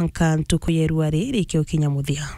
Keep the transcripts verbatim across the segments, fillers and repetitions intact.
mwanka ntuku ya irua riri ikiokinya muthia.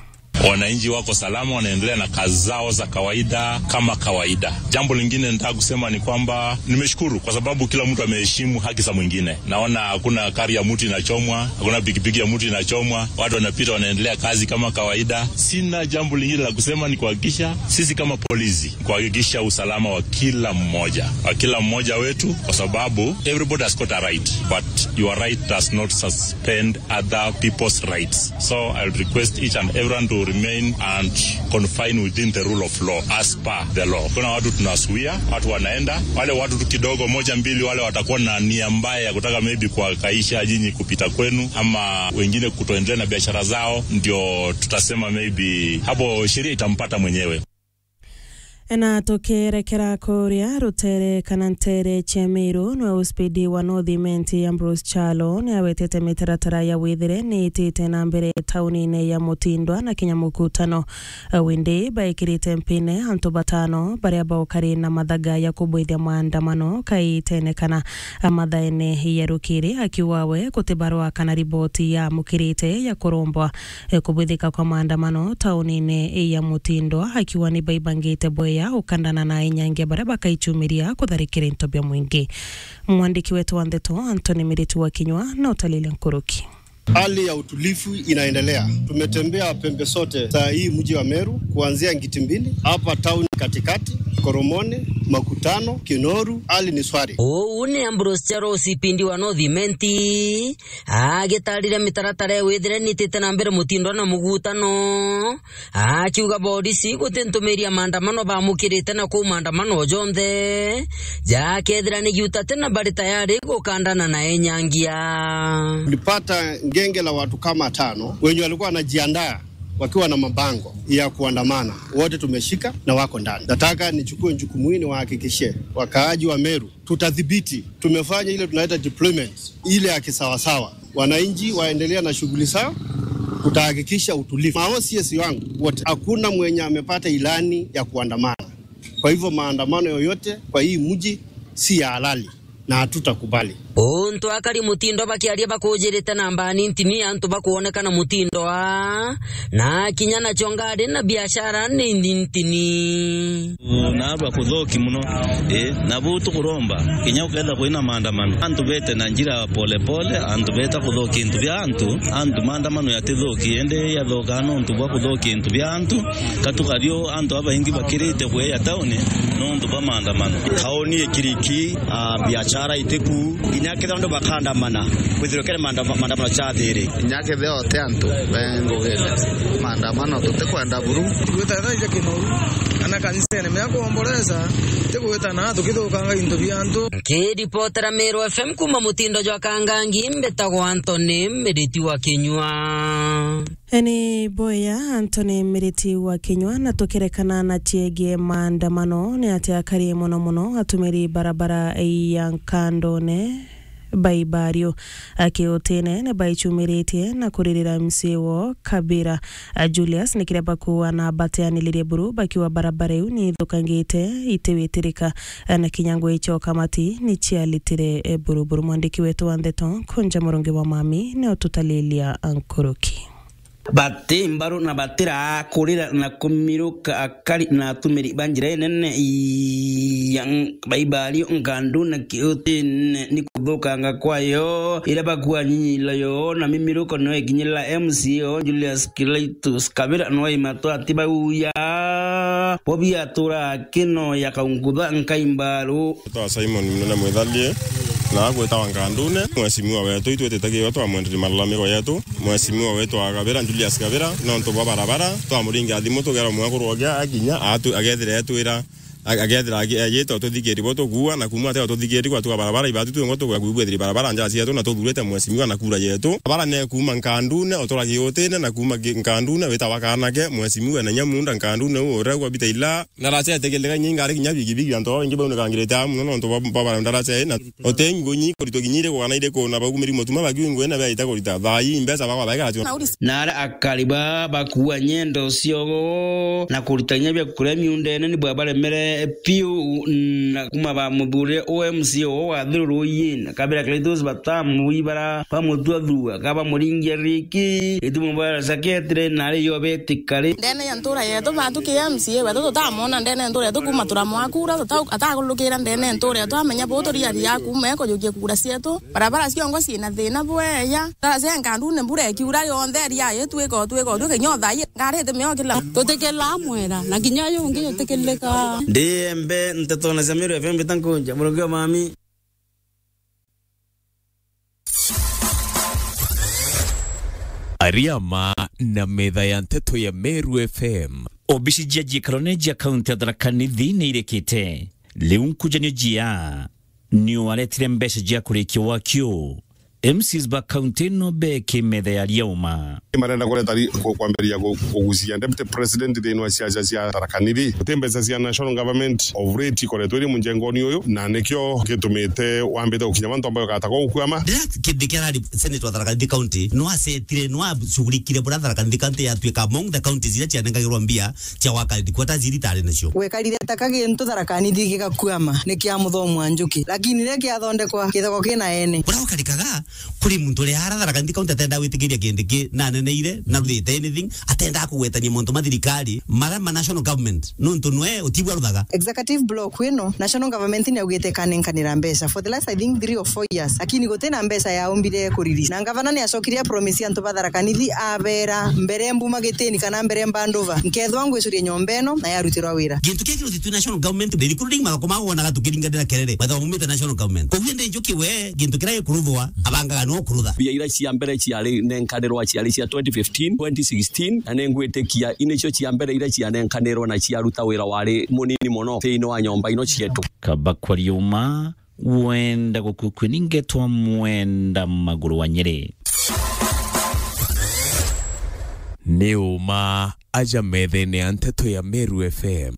Wananchi wako salama, wanaendelea na kazi zao za kawaida kama kawaida. Jambo lingine nataka kusema ni kwamba nimeshukuru kwa sababu kila mtu ameheshimu haki za mwingine. Naona hakuna gari ya mtu inachomwa, hakuna pikipiki ya mtu inachomwa, watu wanapita, wanaendelea kazi kama kawaida. Sina jambo lingine la kusema, ni kuhakikisha sisi kama polisi, kuhakikisha usalama wa kila mmoja, wa kila mmoja wetu, kwa sababu everybody has got a right, but your right does not suspend other people's rights. So I would request each and everyone to remain and confine within the rule of law, as per the law. Kuna watu tunazuia, watu wanaenda, wale watu tu kidogo, moja mbili, wale watakuwa na nia mbaya ya kutaka maybe kuhangaisha nyinyi kupita kwenu, ama wengine kutoendelea na biashara zao, ndio tutasema maybe hapo sheria itampata mwenyewe. Na tukirekera kuria rutere kana ntere cia Meru, nwe uspidi wa North Imenti Ambrose Kyalo ni awetete mitaratara ya withire ni itite na mbere taunine ya Mutindwa na kinya Mukutano. Windi baikirite mpine antu batano baria baukari na mathaga ya kubwithia maandamano kaitene kana mathaene ya rukiri, akiuga we guti barua kana riboti ya mukirite ya kurombwa e, kubwithika kwa maandamano taunine ya Mutindwa, akiuga ni baibangite bweya ukandana na inyangia baria bakaichumiria kutharikira into bia mwingi. Mwandiki wetu wa ndeto Anthony Miriti wa Kinyua na utalile nkuruki. Hali ya utulivu inaendelea. Tumetembea pembe zote za hii mji wa Meru, kuanzia Ngiti Mbili, hapa town katikati, Koromoni, Makutano, Kinoru, hali ni shwari. Uu ni Ambrose Kyalo, uspidi wa North Imenti, agitarire mitaratara ya withire ni itite na mbere Mutindwa na Mugutano, akiuga borisi guti ntumiri ya maandamano bamukirite na kuu maandamano jonthe jakethira ni giuta tena bari tayari gukandana na enyangia. Tulipata ngenge la watu kama tano wenye walikuwa wanajiandaa wakiwa na mabango ya kuandamana. Wote tumeshika na wako ndani. Nataka nichukue jukumu hili niwahakikishie wakaaji wa Meru, tutadhibiti. Tumefanya ile tunaita deployment, ile ya kisawasawa. Wananchi waendelea na shughuli zao, tutahakikisha utulivu. Ma O C S wangu wote, hakuna mwenye amepata ilani ya kuandamana. Kwa hivyo maandamano yoyote kwa hii mji si ya halali na hatutakubali. Untu akari Mutindwa bakiaria bakujirite na mbani ntini, antu bakuonekana Mutindwa, na kinya nacio ngari na biashara ni ntini. Na bakuthoki muno. Ii, na buu tukuromba, kinya ukethira kwina maandamano, antu bete na njira pole pole, antu beta kuthokia into bia antu, antu maandamano yatithoki, indi yathoka nontu bwa kuthokia into bia antu, katukario antu abaingi bakirite kweya tauni nontu bwa maandamano. Tauni ikiriki, ah, biashara itiku, kinya kethira antu bakaandamana, kwithirwa kere maandama-, maandamano chathiri. Kinya kethira ote antu bengugire maandamano, tutikwenda buru. Gwita thaa cia Kinoru, kana kanisene, mea kuomboleza, ti gwita na tukithukanga into bia antu. Nkiripotera Meru F M kuuma Mutindwa jwa Kangangi, mbitagwa Anthony Miriti wa Kinyua. Eni boya Anthony Miriti wa Kinyua, na tukirekana na ciegie maandamano, ni ati akari mono mono atumiri barabara ya Nkandone Baibario akiutine ni baichumiritie na kuririra M C A wo Kabira. A Julius ni kiria bakuuga na bateanilirie buru bakiuga barabara iu ni ithukangite itiwitirika, na kinya ngui cia ukamati ni cialitire buru buru. Mwandiki wetu wa ndeto Kunja Murungi wa Mami ni ututalilia nkuruki. Bati mbaru na batira kurira na kumiruka akari na atumiri ba njira inene ya Baibario Nkandu na Kiutine ni kuthukanga kwayo, iria bakuanyilo yo na mimiruko no ikinyirira M C A o Julius Cletus Kabira no imatwa ati bauya bo biatura kino ya kaungutha nkaimbaru. Twa Simon Munene Mwithalie, na agwitawa Nkandune, mheshimiwa wetu, itwitite kiwa twamwenderia malalamiko yetu. Mheshimiwa wetu wa Kabira, Julius Kabira, nontu bwa barabara, twamuringia thimu tugera mwekuru ogia akinya, atu-, agethira etwira, ag-, agethira agi-, ayita ututhikirie bo tukuua, na kuuma atega ututhikirie kwa tuga barabara, ibatu twingwa tuga kwibwethiri barabara nja cietu, na tuthurite mheshimiwa na kura yetu. Barabara ne kuuma Nkandune, utura Kiutine, na kuuma Ki-, Nkandune, witawa Kanake, mheshimiwa na Nyamunda Nkandune, u uria gwa bita ila. Ndaraca etegeleka inya ingari kinya bigibigi, antu baba baingi baunikangirite aa mono nontu bwa, bwa bara ndaraca ii, na utengi ngunyi kuritwa kinya iriku kana iriku, na baumiri mutuma bakiu ngui na biaita kurita. Thaa ii mbeca bakwa baikara cio. Na aria akari ba bakuua nyendo ciogo na kurita kinya bia kuria miundene ni bwabaremere. Eh, piu na kuma ba muthurire O M C O wa Thiru Ruiyin, kabira Cletus Batamu, ibara ba mutua thua, kaba muringia riki, itumo ba saketire, na ari yo betikari. Ndene ya ntura yetu, batu ki M C A wetu tutamona ndene ya ntura yetu, kuma turamwakura, tuta-, atakulukira ndene ya ntura yetu, amenya bu turia ria kuma ekujukia kura cietu. Barabara ciongo ciina thina bweya. Ndara cia nkandune mbura ikiura yonthe ria itwika, twika, twika, kinya thaai. Ngari itimiokila. Tutikila mwera, na kinya uyu ungi utikilika. Ndi embe ntetone cia Meru F M mbita nkunja, Murungi wa mami. Ariama na metha ya nteto ya Meru F M. Obici cia jikarone jia kaunti ya Tharaka Nithi ni irikite. Riu nkujanio jia ni waretire mbeca cia kurikia wakio. M Cs ba kaunti ino beki metha ya riauma. Marenda kureta ri-, ku-, kwambiria ku-, kugucia Deputy President thiini wa ciaca cia Tharaka Nithi. Guti mbeca cia National Government of late ikoretwo iri munjengoni uyu, na nikio gitumite wambite gukinya mantu ambayo gatagwa gukwama. Riria Kindiki arari Senator wa Tharaka Nithi County, no asetire, no acugurikire buria Tharaka Nithi County yatuika among the counties iria cianengagirwa mbia cia gwaka headquarters iria itari nacio. Gwekarire ta ka gintu Tharaka Nithi gigakwama ni kia muthomo wa njuki, lakini riria kiathondekwa, githoko kina ene. Buria gukarikaga, kuri muntu uria ara Tharaka Nithi County atenda gwitikiria Kindiki na aneneire, na ruthite anything, atenda kugwetania montu ma thirikari, mara ma national government, nontu nwe utibwa ruthaga. Executive block ino, national government ni augite ikanenkanira mbeca for the last, I think, three or four years, lakini gutina mbeca yaumbire kuriri. Na ngavana ni acokire a promise antu ba Tharaka Nithi, abera mbere mbuma gitini kana mbere mbandova, nkethwa ngwicuria nyomba ino na yarutirwa wira. Gintu kia kiruti tu national government, the recruiting magako ma wonaga tukiringanira kerere, whether umite national government. Koguo ndi njuki we, gintu kiria gikuruthwa, abangaga no kurutha. Mbia iria cia mbere ciari nenkanirwa ciari cia twenty fifteen, twenty sixteen, na ningwitikia inicio cia mbere iria cianenkanirwa na ciaruta wira wari munini mono thiini wa nyomba ino cietu. Kaba kwa riuma, wenda gukukwi ningetwa mwenda maguru wa Nyeri. Ni uma aja methene ya nteto ya Meru F M.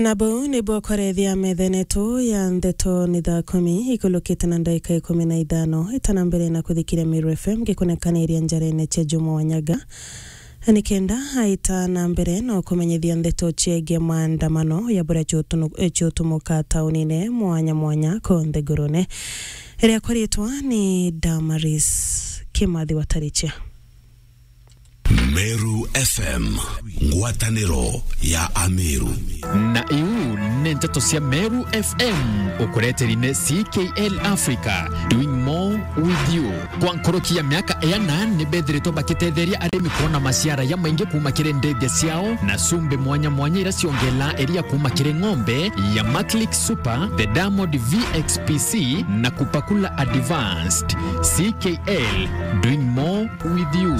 Na buu nibwo kwarethia methene yetu ya nteto ni thaa kumi ikulukite na ndagika ikumi na ithano. Ita na mbere na kuthikiria Meru F M gikunekaniria njarene cia Juma Wanyaga, nikenda aita na mbere no kumenyithia nteto ciegii maandamano ya buria ciutunu-, ciutumuka taunine mwanya mwanya ku nthigurune. Riakwa riitwa ni Damaris Kimathi wa Tarichia. Meru F M, ngwataniro ya Ameru. Na iu ni nteto cia Meru F M, ukureteri ni C K L Africa, doing more with you. Kwa nkuruki ya miaka iana, ni bethiritwe bakitetheria arimi kwona maciara ya maingi kuuma kiri ndethia ciao na cumbi mwanya mwanya iria ciongelaa iria kuuma kiri ng'ombe ya Maclick Super, the Diamond V X P C na Kupakula Advanced. C K L, doing more with you.